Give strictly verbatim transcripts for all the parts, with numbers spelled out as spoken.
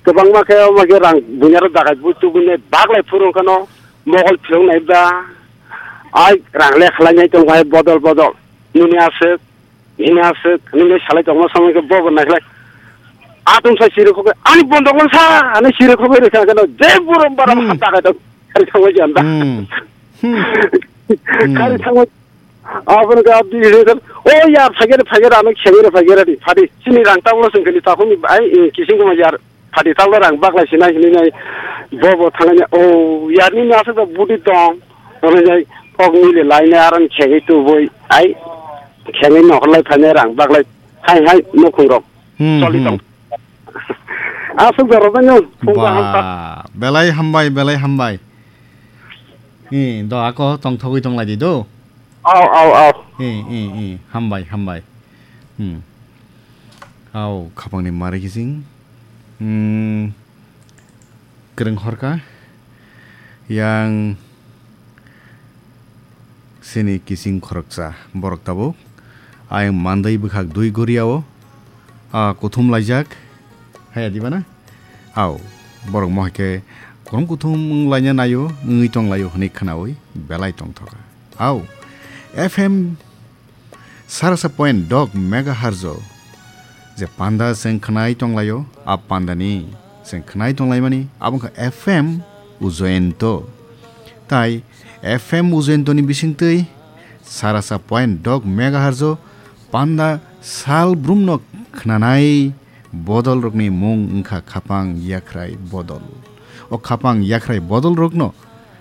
Kwbangma khe omo khe rang bunyaro dagai bui tubunai baglai phuru wngkhano mogol phirok nai ba. Ai rang le khlai nai tong hai bodol bodol. Nini aswk, nini aswk, nini salai tongma samai khe bobo nai khlai. Atung sai siri khokhe ani bondok lang sa, ani siri khokhe rikha kheno je burom baram Hmm. ha dagai tong. Kari thangwi janda. Hmm. Hmm. Hmm. Kari thangwi Aboni khe abdi hino khe, "O yar, phaikhe de, phaikhe de, ano khengwi de, phaikhe de, phadi. Chini rang tabukno chwng khe ni takhukni bai, eh, kising khe ma yar, phadi tabukno rang baklai sinai," hinwi nai. Bo bo thangnai, "O yar, nini aswk da budi tong." Hwnwi nai, kok nili lainai, aron khengwi tubui, ai, khengwi nohorlai phainai rang baklai, hai, hai, nukhung rok Hmm, choli hmm. tong. Aswk da rwbaino, phung kaham kha. Ba, belai hambai, belai hambai. Eh, do ako tongthogwi tonglai di do. Au, au, au. Eh, eh, eh, hambai, hambai. Hmm. Au, khapangni mari kising. Hmm. Kwrwng horka. Yang sini kising khoroksa. Borok tabuk. Ayang mandai bwkhak dui goriao. Ah, kuthum laijak. Haya diba na? Au. Borok mohai khe kurum kuthum wng laina naio, wngwi tong laio hwnwi khnaui belai tongthoka. Au. F M Sarasa point dok megahertz o je panda chwng khnai tonglaio, a pandani chwng khnai tonglaimani abo wngkha F M Ujoyento. Tai F M Ujoyentoni bisingtwi sarasa point dok megahertz o panda sal brumno khnanai bodolrokni mung wngkha khapang yakhrai bodol. O khapang yakhrai bodolrokno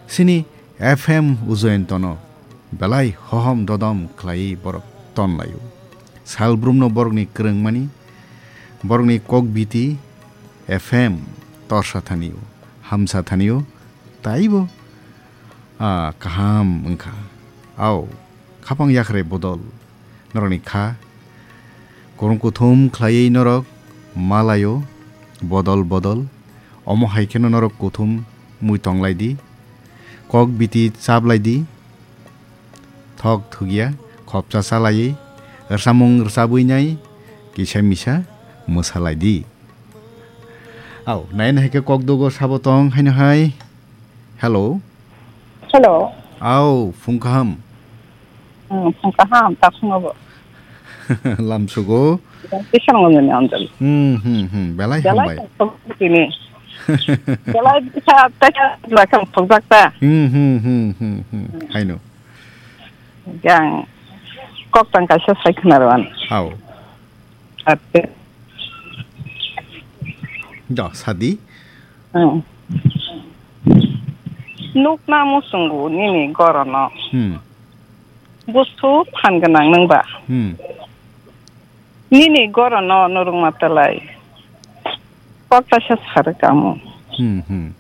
sini F M Ujoyentono belai hohom dodom khlaiwi borok tonlaio. Salbrumno borokni kwrwngmani, borokni kokbiti F M torsa thanio, hamsa thanio, taibo, ah, kaham wngkha. Au, khapang yakhrai bodol norokni kha, kurung kuthum khlaiwi norok malaio, bodol bodol. Omo hai kheno norok kuthum mui tonglai di, kok biti chaplai di, thok thugya, khopsa chalaiwi, rwchapmung rwchabwi nai, kisa misa mwsalai di. Au, nai nai khe kok dogo sabo tong haino hai. Hello. Hello. Au, phung kaham. Hmm, phung kaham, takhungo bo. Lamsugo. Kisa ngongo ni anjali. Hmm, hmm, hmm. Belai Belai hambai. Tong tini. Belai bisa teka lakang tong jakta. Hmm, hmm, hmm, hmm, hmm. Haino. Yang kok tang kaisa sai khna rwan. Au. Ate. Do, sadi. Hmm. Nukna musungo nini gorono. Hmm. Busu phan gwnang nwng ba. Hmm. Nini gorono nurung matalai. Kok kaisa sarwk amo. Hmm, hmm.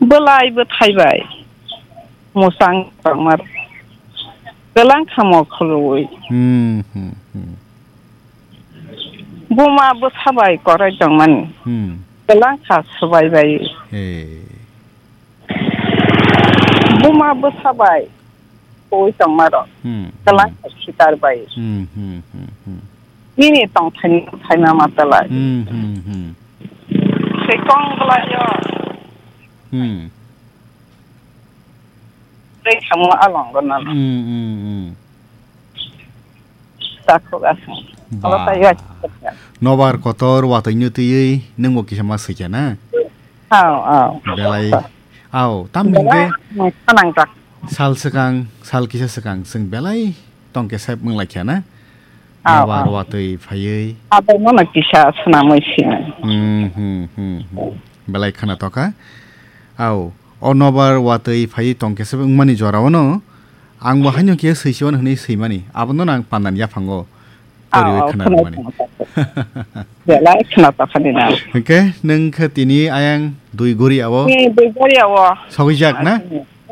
Bwlai bwthai bai. Musang tongmar. Gwlang khamo khului. Hmm, hmm, hmm. Buma bwsa bai korai tongmani. Hmm. Gwlang kha swbai bai. Hey. Buma bwsa bai koi tongma rok. Hmm, Kwlai hmm. Sitar bai. Hmm, hmm, hmm, hmm. Nini tong thaini thaima ma talai. Hmm, hmm, hmm. Sekong bwlai yo. Hmm. Tei samo along gwnano. Hmm, hmm, hmm. Takhuk aswk. Ba. Alo tai ya. Nobar kotor watwi nw twiwi nwngbo kisa ma swikha na? Aw, aw. Belai. Aw, tam Belai, hwnkhe hmm, khanang jak. Sal swkang, sal kisa swkang, chwng belai tongkhe sep wng laikha na? Aw, Nobar aw. Watwi phaiwi. Abo no kisa swnamwi sini. Hmm, hmm, hmm, hmm. Belai khana tokha. Aw, o nobar watwi phaiwi tongkhe sep wngmani jorao no. Ang bo haino khe swi siwan hwnwi swimani. Abono ang pandan yaphango. Aw, toriwi aw, khna khna rwmani. Khna, khna. Belai khna tokha ni na. Hwnkhe nwng khe tini ayang dui gori awo. Ni dui gori awo. Sogwi jak na?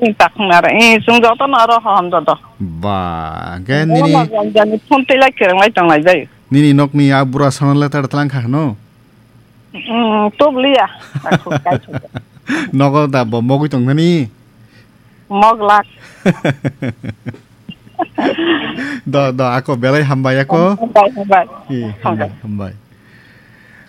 Ni takhung nara. Eh, sung joto no aro hom joto. Ba, hwnkhe nini jani phone tei lai kereng lai tong lai jai. Nini nokni a bura sono letter tlang kha hwno? Mm, tubli ya. Aku kai chuk. Nogo da bo mogwi tong thani? Moglak. Do, do, ako belai hambai ako. Hambai, hambai. Eh, hambai, hambai.